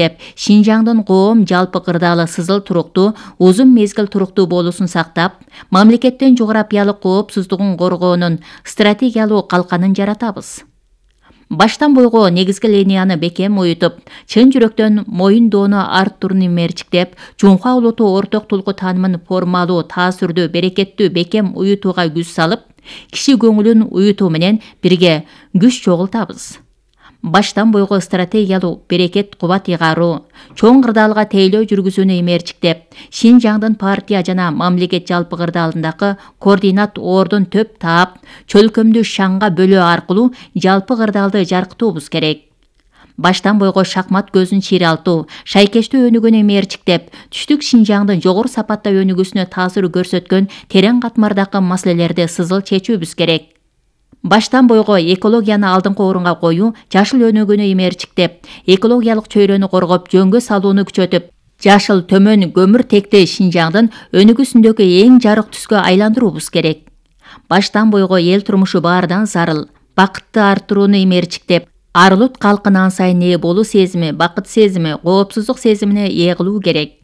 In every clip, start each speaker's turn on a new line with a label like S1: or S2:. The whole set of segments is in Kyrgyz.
S1: ээрчиктеп, Шинжаңдын коом жалпы кырдаалы сызыл туруктуу, узун мезгил туруктуу болуусун сактап, мамлекеттин жогорапиялык коопсуздугун коргоонун стратегиялуу калканын жаратабыз. Баштан бойго негизги линияны бекем уютуп, чын жүрөктөн моюндоону арттууруну ээрчиктеп, Жумха улуту орток тулку таанымын формалуу, таасирдүү, берекеттүү бекем уютууга күч салып, киши көңүлүн уютуу менен бирге күч чогултабыз. Баштан бойго стратегиялуу, берекет кубат ыйгаруу, чоң кырдаалга тейлөө жүргүзүүнү ээрчиктеп, Шинжаңдын партия жана мамлекет жалпы кырдаалындагы координат ордун төп таап, чөлкөмдү шаңга бөлөө аркылуу жалпы кырдаалды жаркытуубуз керек. Баштан бойго шахмат көзүн чыйралтуу, шайкештүү өнүгүүнү ээрчиктеп, түштүк Шинжаңдын жогору сапатта өнүгүүсүнө таасир көрсөткөн терең катмардагы маселелерди сызыл чечүүбүз керек. Баштан бойго экологияны алдыңкы орунга коюу, жашыл өнүгүүнү ээрчиктеп, экологиялык чөйрөнү коргоп, жөнгө салууну күчөтүп, жашыл төмөн көмүртекти Шинжаңдын өнүгүүсүндөгү эң жарык түскө айландыруубуз керек. Баштан бойго эл турмушу баардан зарыл, бакытты арттырууну ээрчиктеп, ар улут калкын ан сайын ээ болуу сезими, бакыт сезими, коопсуздук сезимине ээ кылуу керек.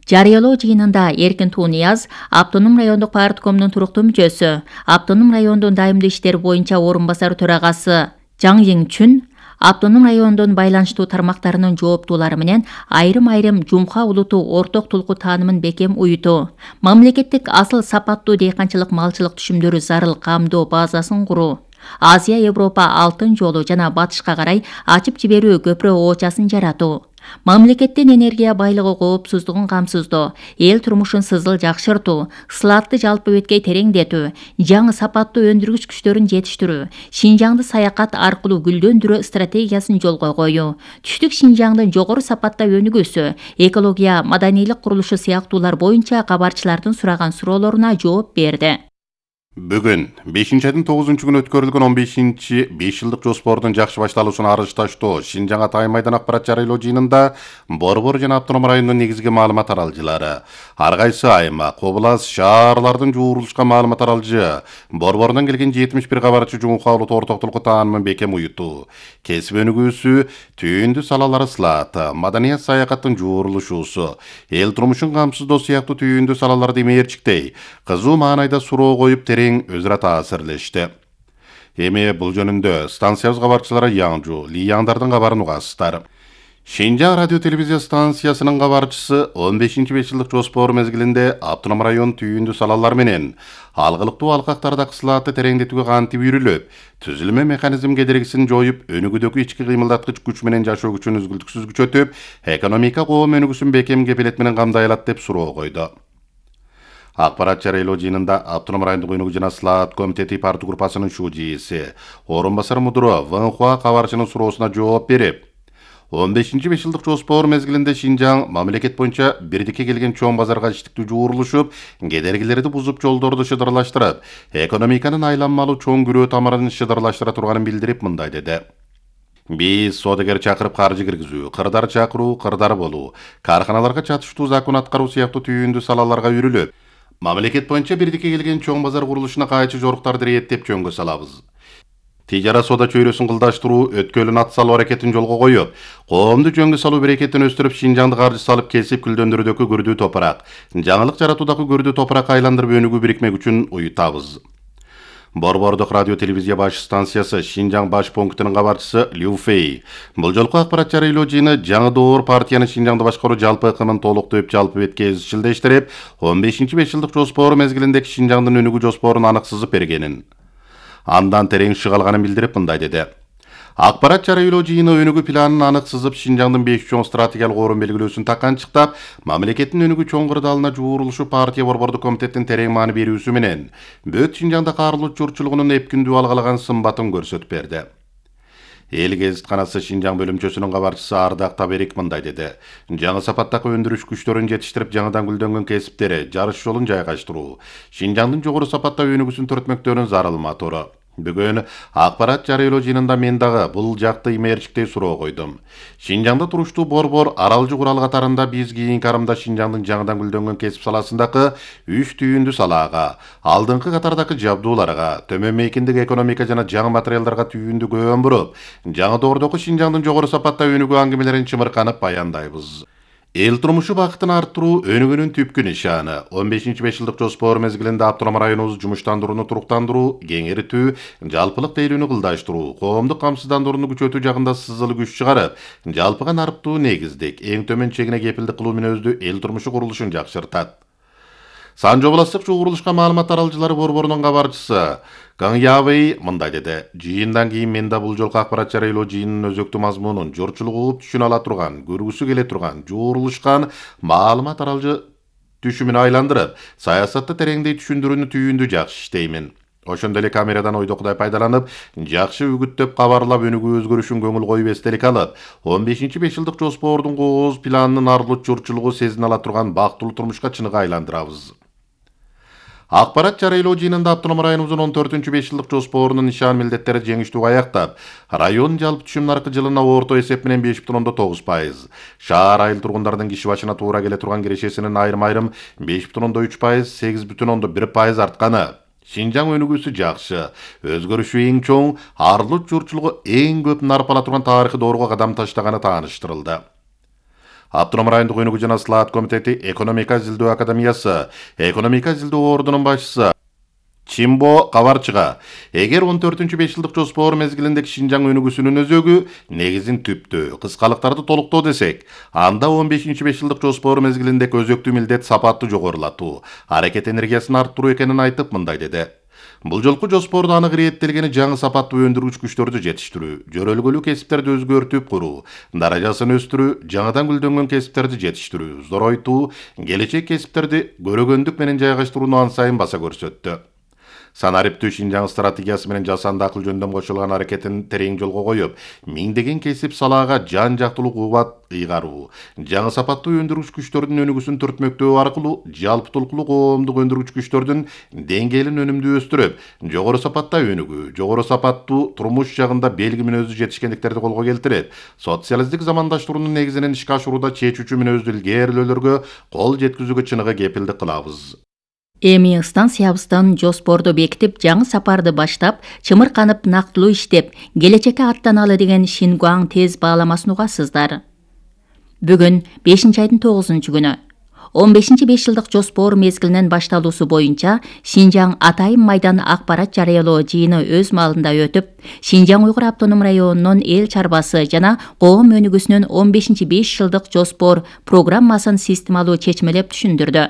S1: Жарыялоо жыйынында Эркин Тунияз, Автоном райондук парткомдун туруктуу мүчөсү, Автоном райондун дайымдуу иштер боюнча орун басар төрагасы Жаң Еңчүн, Автоном райондун байланыштуу тармактарынын жооптуулары менен айрым Жумха улуту орток тулку таанымын бекем уютуу, мамлекеттик асыл сапаттуу дейканчылык малчылык түшүмдөрү зарыл камдоо базасын куруу, Азия Европа алтын жолу жана батышка карай ачып жиберүү көпүрө оочасын жаратуу, мамлекеттин энергия байлыгы коопсуздугун камсыздоо, эл турмушун сызыл жакшыртуу, сылаатты жалпы беткей тереңдетүү, жаңы сапаттуу өндүргүч күчтөрүн жетиштирүү, Шинжаңды саякат аркылуу гүлдөндүрүү стратегиясын жолго коюу, түштүк Шинжаңдын жогору сапатта өнүгүүсү, экология, маданийлик курулушу сыяктуулар боюнча кабарчылардын сураган суроолоруна жооп берди.
S2: Бүгүн 5-айдын 9-күнү өткөрүлгөн 15-ci 5 жылдык жоспордун жакшы башталуусуна арыздаштоо Шинжаң Атайын майдан акпарат жарыялоо жыйынында Борбор жана Автоном районунун негизги маалымат таралжылары, ар кайсы аймак, област, шаарлардын жуурулушка маалымат таралжы, Борбордон келген 71 кабарчы Жумха улуту орток тулку таанымын бекем уютуу, кесип өнүгүүсү, түйүндү салалары сылааты, маданият саякаттын жуурулушуусу, эл турмушун камсыздоо сыяктуу түйүндү салаларды ээрчиктей, кызуу маанайда суроо коюп өзара таасирлешти. Эми бул жөнүндө станциябыз кабарчылары Яңжу, Лияңдардын кабарын угасыздар. Шинжаң радио телевизия станциясынын кабарчысы 15-ci 5 жылдык жоспор мезгилинде Автоном район түйүндү салалар менен алгылыктуу алкактарда кысылаатты тереңдетүүгө кантип үйрүлүп, түзүлмө механизм кедергисин жоюп, өнүгүүдөгү ички кыймылдаткыч күч менен жашоо күчүн үзгүлтүксүз күчөтүп, экономика коом өнүгүүсүн бекем кепилет менен камдай алат деп суроо койду. Акпарат жарыялоо жыйынында Автоном райондук өнүгүү жана сылаат комитети парты группасынын ШУЖИСи, орун басар мудуру Ванхуа кабарчынын суроосуна жооп берип, 15-ci 5 жылдык жоспор мезгилинде Шинжаң мамлекет боюнча бирдикке келген чоң базарга иштиктүү жуурулушуп, кедергилерди бузуп, жолдорду шыдырлаштырып, экономиканын айланмалуу чоң күрөө тамырын шыдырлаштыра турганын билдирип мындай деди. Биз содагер чакырып каржы киргизүү, кырдар чакыруу, кырдар болуу, карханаларга чатыштуу закон аткаруу сыяктуу түйүндү салаларга үйрүлүп, мамлекет боюнча бирдикке келген чоң базар курулушуна кайчы жоруктарды реттеп жөнгө салабыз. Тижара сода чөйрөсүн кылдаштыруу, өткөлүн ат салуу аракетин жолго коюп, коомду жөнгө салуу берекетин өстүрүп, Шинжаңды каржы салып кесип күлдөндүрүүдөгү көрдүү топурак, жаңылык жаратуудагы көрдүү топуракка айландырып өнүгүү бирикмек үчүн уютабыз. Борбордук радио телевизия баш станциясы Шинжаң баш пунктунун кабарчысы Лю Фэй бул жолку акпарат жарыялоо жыйыны жаңы доор партиянын Шинжаңды башкаруу жалпы ыкымын толуктоп, жалпы бетке изчилдештирип, 15-ci 5 жылдык жоспор мезгилиндеги Шинжаңдын өнүгүү жоспорун анык сызып бергенин, андан терең шыга алганын билдирип мындай деди. Акпарат жарыялоо жыйыны өнүгүү планын анык сызып, Шинжаңдын 5 чоң стратегиялык орун белгилөөсүн таканчыктап, мамлекеттин өнүгүү чоң кырдаалына жуурулушу партия борбордук комитеттин терең маани берүүсү менен бөт Шинжаңда карылуу журтчулугунун эпкүндүү алгалаган сымбатын көрсөтүп берди. Эл гезитканасы Шинжаң бөлүмчөсүнүн кабарчысы Ардак Таберик мындай деди. Жаңы сапаттагы өндүрүш күчтөрүн жетиштирип, жаңыдан гүлдөнгөн кесиптери, жарыш жолун жайгаштыруу, Шинжаңдын жогору сапатта өнүгүүсүн төртмөктөөнүн зарыл мотору. Бүгүн акпарат жарыялоо жыйынында мен дагы бул жакты имээрчиктей суроо койдум. Шинжаңда туруштуу борбор аралжы курал катарында биз кийинки арымда Шинжаңдын жаңыдан гүлдөнгөн кесип саласындагы 3 түйүндүү салаага, алдыңкы катардагы жабдууларга, төмөн мейкиндеги экономика жана жаңы материалдарга түйүндүү көңүл буруп, жаңы доордогу Шинжаңдын жогору сапатта өнүгүү аңгемелерин чымырканып баяндайбыз. Эл турмушу бакытын арттыруу өнүгүүнүн түпкү нишаны. 15-5 жылдык жоспор мезгилинде автоном районубузду жумуштандырууну туруктандыруу, кеңейтүү, жалпылык тейлүүнү кылдаштыруу, коомдук камсыздандырууну күчөтүү жагында сызылы күч чыгарып, жалпыга нарыктуу негиздик, эң төмөн чегине кепилдик кылуу мүнөздүү эл турмушу курулушун жакшыртат. Санжы областык чогуу курулушка маалымат таралчылары борборунун кабарчысы Кang Явей мындай деди. Жыйындан кийин мен да бул жолку акпарат жарыялоо жыйынынын өзөктүү мазмунун жорчулук угуп түшүнө ала турган, көргүсү келе турган, жуурулушкан маалымат таралчы түшүмүнө айландырып, саясатты тереңдей түшүндүрүүнү түйүндү жакшы иштеймин. Ошондой эле камерадан ойдокудай пайдаланып, жакшы үгүттөп кабарлап өнүгүү өзгөрүшүн көңүл коюп эстелик алып, 15-5 жылдык жоспордун кооз планынын арлык жорчулугу сезине ала турган бактылуу турмушка чыныгы айландырабыз. Акпарат жарыялоо жыйынында автоном районубуздун 14-5 жылдык жоспорунун нишан милдеттери жеңиштүү аяктап, район жалпы түшүм наркы жылына орто эсеп менен 5,9%, шаар айыл тургундардын киши башына туура келе турган кирешесинин айрым-айрым 5,3%, 8,1% артканы. Шинжаң өнүгүүсү жакшы, өзгөрүшү эң чоң, арлык журчулугу эң көп нарп ала турган тарыхый доорго кадам таштаганы тааныштырылды. Автоном райондук өнүгүү жана слаат комитети экономика изилдөө академиясы, экономика изилдөө ордунун башчысы Чимбо кабарчыга, эгер 14-5 жылдык жоспор мезгилиндеги Шинжаң өнүгүүсүнүн өзөгү негизин түптөө, кыскалыктарды толуктоо десек, анда 15-5 жылдык жоспор мезгилиндеги өзөктүү милдет сапатты жогорулатуу, аракет энергиясын арттыруу экенин айтып мындай деди. Бул жолку жоспордо анык ирэттелгени жаңы сапаттуу өндүргүч күчтөрдү жетиштирүү, жөрөлгөлүү кесиптерди өзгөртүп куруу, даражасын өстүрүү, жаңыдан гүлдөнгөн кесиптерди жетиштирүү, зоройтуу, келечек кесиптерди көрөгөндүк менен жайгаштырууну ан сайын баса көрсөттү. Санариптүү Шинжаң стратегиясы менен жасанды акыл жөндөм кошулган аракетин терең жолго коюп, миңдеген кесип салаага жан жактылуу кубат ыйгаруу, жаңы сапаттуу өндүргүч күчтөрдүн өнүгүүсүн түртмөктөө аркылуу жалпы толкулуу коомдук өндүргүч күчтөрдүн деңгээлин өнүмдүү өстүрүп, жогору сапатта өнүгүү, жогору сапаттуу турмуш жагында белги мүнөздүү жетишкендиктерди колго келтирип, социалисттик замандаштыруунун негизинен ишке ашырууда чечүүчү мүнөздүү илгээрилөөлөргө кол жеткизүүгө чыныгы кепилдик кылабыз.
S1: Эми станциябыздан жоспорду бекитип, жаңы сапарды баштап, чымырканып нактылуу иштеп, келечекке аттаналы деген Шингуаң тез бааламасын угасыздар. Бүгүн 5-айдын 9-күнү 15-5 жылдык жоспор мезгилинин башталуусу боюнча Шинжаң Атайын майдан акпарат жарыялоо жыйыны өз маалында өтүп, Шинжаң Уйгур автоном районунун эл чарбасы жана коом өнүгүүсүнүн 15-5 жылдык жоспор программасын системалуу чечмелеп түшүндүрдү.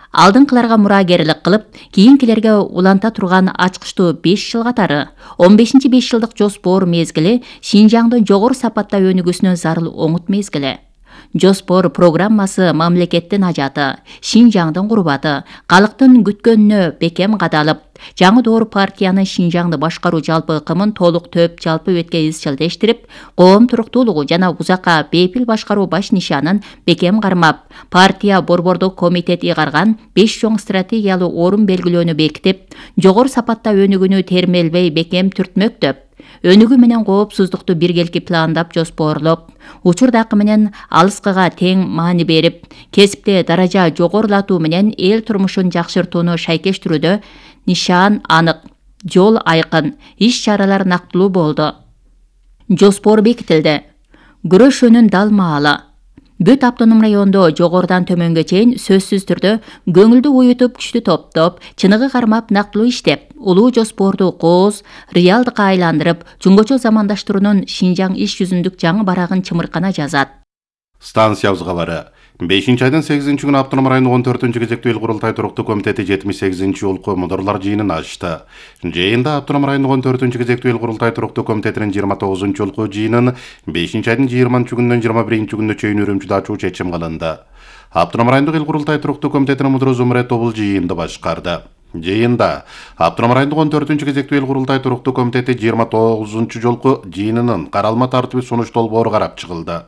S1: Алдыңкыларга мураагерлик кылып, кийинкилерге уланта турган ачкычтуу 5 жыл катары 15-5 жылдык жоспор мезгили Шинжаңдын жогору сапатта өнүгүүсүнө зарыл оңут мезгили. Жоспор программасы мамлекеттин ажаты, Шинжаңдын курбаты, калктын күткөнүнө бекем кадалып, жаңы доор партиянын Шинжаңды башкаруу жалпы ыкымын толук төп жалпы бетке изчилдештирип, коом туруктуулугу жана узакка бейпил башкаруу баш нишанын бекем кармап, партия борбордук комитет ыйгарган 5 чоң стратегиялуу орун белгилөөнү бекитип, жогору сапатта өнүгүүнү термелбей бекем түртмөктөп, өнүгүү менен коопсуздукту биргелики пландап жоспорлоп, учурдакы менен алыскыга тең маани берип, кесипте даража жогорулатуу менен эл турмушун жакшыртууну шайкештирүүдө нишан анык, жол айкын, иш-чаралар нактылуу болду. Жоспор бекитилди. Күрөшүүнүн дал маалы. Бүт автоном райондо жогорудан төмөнгө чейин сөзсүз түрдө көңүлдү уютуп, күчтү топтоп, чыныгы кармап нактылуу иштеп, улуу жоспорду кооз, реалдыкка айландырып, чуңгочо замандаштыруунун Шинжаң иш жүзүндүк жаңы барагын чымыркана жазат.
S2: Станциябыз кабары. 5-айдын 8-күнү автоном райондук 14-кезектүү эл курултай туруктуу комитети 78-жолку мудурлар жыйынын ачты. Жыйында автоном райондук 14-кезектүү эл курултай туруктуу комитетинин 29-жолку жыйынын 5-айдын 20-күнүнөн 21-күнүнө чейин Үрүмчүдө ачуу чечим кылынды. Автоном райондук эл курултай туруктуу комитетинин мудуру Зумрет Тобул жыйынды башкарды. Жыйында автоном райондук 14-кезектүү эл курултай туруктуу комитети 29-жолку жыйынынын каралма тартиби сунуш долбоору карап чыгылды.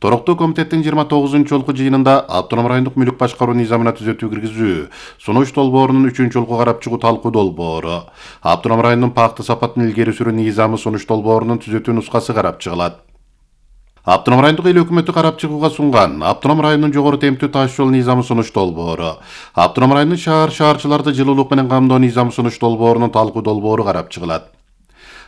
S2: Туруктуу комитеттин 29-жолку жыйынында автоном райондук мүлүк башкаруу низамына түзөтүү киргизүү, сунуш долбоорунун 3-жолку карап чыгуу талкуу долбоору, автоном райондун пакты сапатын илгери сүрүү низамы сунуш долбоорунун түзөтүү нускасы карап чыгылат. Автоном райондук эл өкмөтү карап чыгууга сунган автоном районунун жогору темптүү таш жол низамы сунуш долбоору, автоном районунун шаарчыларды жылуулук менен камдоо низамы сунуш долбоорунун талкуу долбоору карап чыгылат.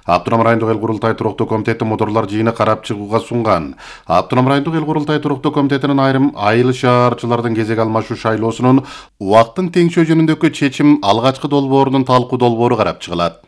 S2: Автоном райондук эл курултай туруктуу комитети мудурлар жыйыны карап чыгууга сунган автоном райондук эл курултай туруктуу комитетинин айрым айыл шаарчылардын кезек алмашуу шайлоосунун убакытын теңшөө жөнүндөгү чечим алгачкы долбоорунун талкуу долбоору карап чыгылат.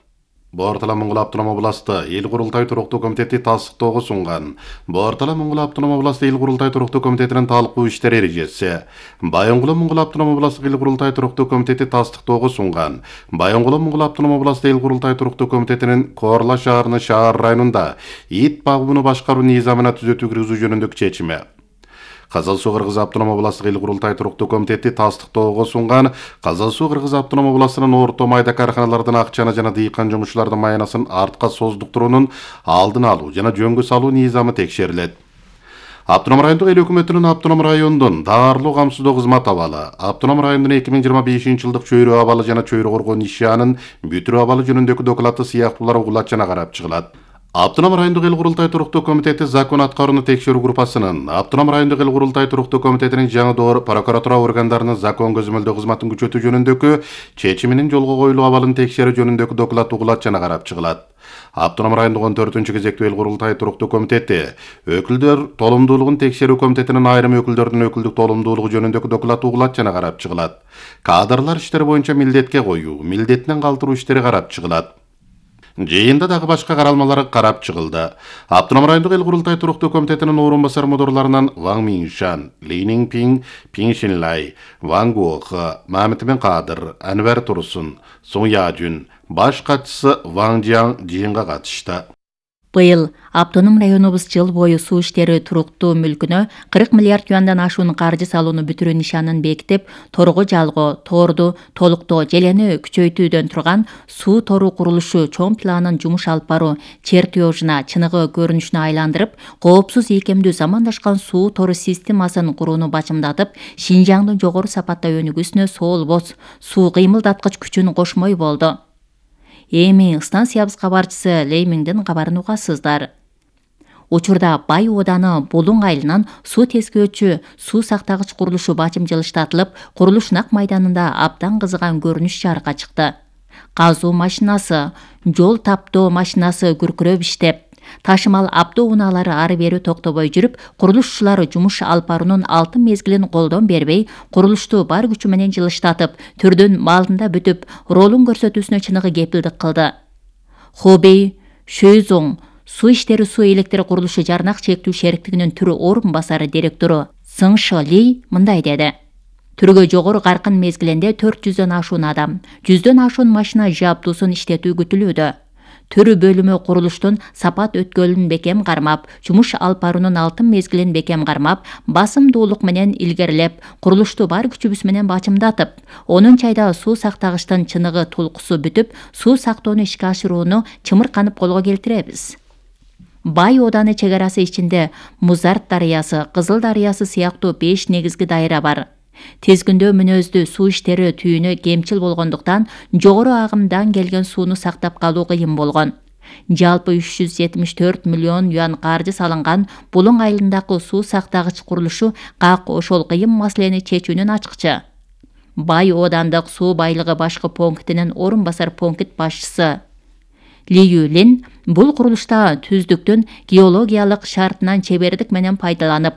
S2: Бортала Моңгол автоном областы эл курултай туруктуу комитети тастыктоого сунган Бортала Моңгол автоном областы эл курултай туруктуу комитетинин талкуу иштери эрежеси, Байоңгуло Моңгол автоном областы эл курултай туруктуу комитети тастыктоого сунган Байоңгуло Моңгол автоном областы эл курултай туруктуу комитетинин Корла шаарынын шаар районунда ит багууну башкаруу низамына түзөтүү киргизүү жөнүндөгү чечими. Казал Суу Кыргыз автоном областтык эл курултай туруктуу комитети тастыктоого сунган Казал Суу Кыргыз автоном областынын орто майда карканалардын акчаны жана дыйкан жумушчулардын майнасын артка создуктуруунун алдын алуу жана жөнгө салуу низамы текшерилет. Автоном райондук эл өкмөтүнүн автоном райондун даарылуу камсыздоо кызмат абалы, автоном райондун 2025-жылдык чөйрө абалы жана чөйрө коргоо нишанын бүтүрүү абалы жөнүндөгү доклады сыяктуулар угулат жана карап чыгылат. Автоном райондук эл курултай туруктуу комитети закон аткарууну текшерүү группасынын, автоном райондук эл курултай туруктуу комитетинин жаңы доор прокуратура органдарынын закон көзөмөлдөө кызматын күчөтүү жөнүндөгү чечиминин жолго коюлуу абалын текшерүү жөнүндөгү доклад угулат жана карап чыгылат. Автоном райондук 14-кезектүү эл курултай туруктуу комитети өкүлдөр толумдуулугун текшерүү комитетинин айрым өкүлдөрдүн өкүлдүк толумдуулугу жөнүндөгү доклад угулат жана карап чыгылат. Кадрлар иштери боюнча милдетке коюу, милдетинен калтыруу иштери карап чыгылат. Жыйында дагы башка каралмалар карап чыгылды. Автоном райондук эл курултай туруктуу комитетинин орун басар мудурларынан Ван Миншан, Ли Ниңпиң, Пиң Шинлай, Ван Гуох, Мамит Бен Кадыр, Анвар Турсун, Сун Яжүн, баш катчысы Ван Жиаң жыйынга катышты.
S1: Быйыл автоном районубуз жыл бою суу иштери туруктуу мүлкүнө 40 миллиард юандан ашуун каржы салууну бүтүрүү нишанын бекитип, торго жалгоо, торду толуктоо желени күчөйтүүдөн турган суу тору курулушу чоң планын жумуш алып баруу чертежуна чыныгы көрүнүшүнө айландырып, коопсуз ийкемдүү замандашкан суу тору системасын курууну бачымдатып, Шинжаңдын жогору сапаттаа өнүгүүсүнө соолбос суу кыймылдаткыч күчүн кошмой болду. Эми станциябыз кабарчысы Леймиңдин кабарын угасыздар. Учурда Бай ооданы Булуң айылынан суу тескөөчү суу сактагыч курулушу бачым жылыштатылып, курулуш нак майданында абдан кызыган көрүнүш жарыкка чыкты. Казуу машинасы, жол таптоо машинасы күркүрөп иштеп, ташымал абдоо унаалары ары бери токтобой жүрүп, курулушчулар жумуш алып баруунун алтын мезгилин колдон бербей, курулушту бар күчү менен жылыштатып, түрдүн маалында бүтүп, ролун көрсөтүүсүнө чыныгы кепилдик кылды. Хобей Шөйзоң суу иштери суу электр курулушу жарнак чектүү шериктигинин түрү орун басары директору Сың Шы Ли мындай деди. Түргө жогору каркын мезгилинде 400дөн ашуун адам, 100дөн ашуун машина жабдуусун иштетүү күтүлүүдө. Түрү бөлүмү курулуштун сапат өткөлүн бекем кармап, жумуш алып баруунун алтын мезгилин бекем кармап, басымдуулук менен илгерилеп, курулушту бар күчүбүз менен бачымдатып, 10 айда суу сактагычтын чыныгы тулкусу бүтүп, суу сактоону ишке ашырууну чымырканып колго келтиребиз. Бай ооданы чек арасы ичинде Музарт дарыясы, Кызыл дарыясы сыяктуу 5 негизги дайра бар. Тезгүндө мүнөздүү суу иштери түйүнү кемчил болгондуктан жогору агымдан келген сууну сактап калуу кыйын болгон. Жалпы 374 миллион юан каржы салынган Булуң айылындагы суу сактагыч курулушу как ошол кыйын маселени чечүүнүн ачкычы. Бай оодандык суу байлыгы башкы пунктинин орун басар пункт башчысы Ли Юлин бул курулушта түздүктүн геологиялык шартынан чебердик менен пайдаланып,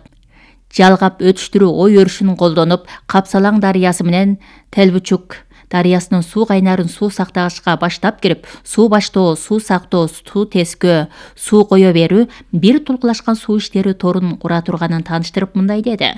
S1: жалгап өтүштүрүү ой өрүшүн колдонуп, Капсалаң дарыясы менен Телбучук дарыясынын суу кайнарын суу сактагычка баштап кирип, суу баштоо, суу сактоо, суу тескөө, суу кое берүү бир тулкулашкан суу иштери торун кура турганын тааныштырып мындай деди.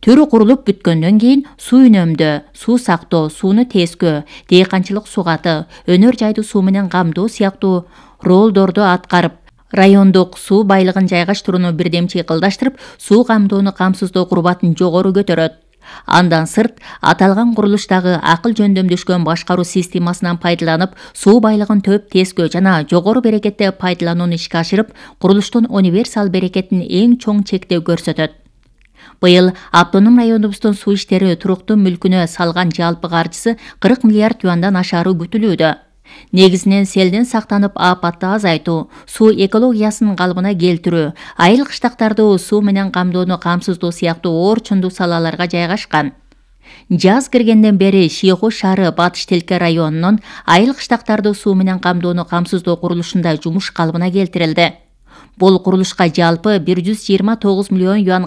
S1: Түрү курулуп бүткөндөн кийин суу үнөмдөө, суу сактоо, сууну тескөө, дыйканчылык сугаты, өнөр жайды суу менен камдоо сыяктуу ролдорду аткарып, райондук суу байлыгын жайгаштырууну бирдемчи кылдаштырып, суу камдоону камсыздоо курбатын жогору көтөрөт. Андан сырт, аталган курулуштагы акыл жөндөмдөшкөн башкаруу системасынан пайдаланып, суу байлыгын төп, тескөө жана жогору берекетте пайдаланууну ишке ашырып, курулуштун универсал берекетин эң чоң чекте көрсөтөт. Быйыл автоном районубуздун суу иштери туруктуу мүлкүнө салган жалпы каржысы 40 миллиард юандан ашаары күтүлүүдө. Негизинен селден сактанып апатты азайтуу, суу экологиясын калыбына келтирүү, айыл кыштактарды суу менен камдоону камсыздоо сыяктуу оор чондуу салаларга жайгашкан. Жаз киргенден бери Шийху шаары Батыш Телке районунун айыл кыштактарды суу менен камдоону камсыздоо курулушунда жумуш калыбына келтирилди. Бул курулушка жалпы 129 миллион юан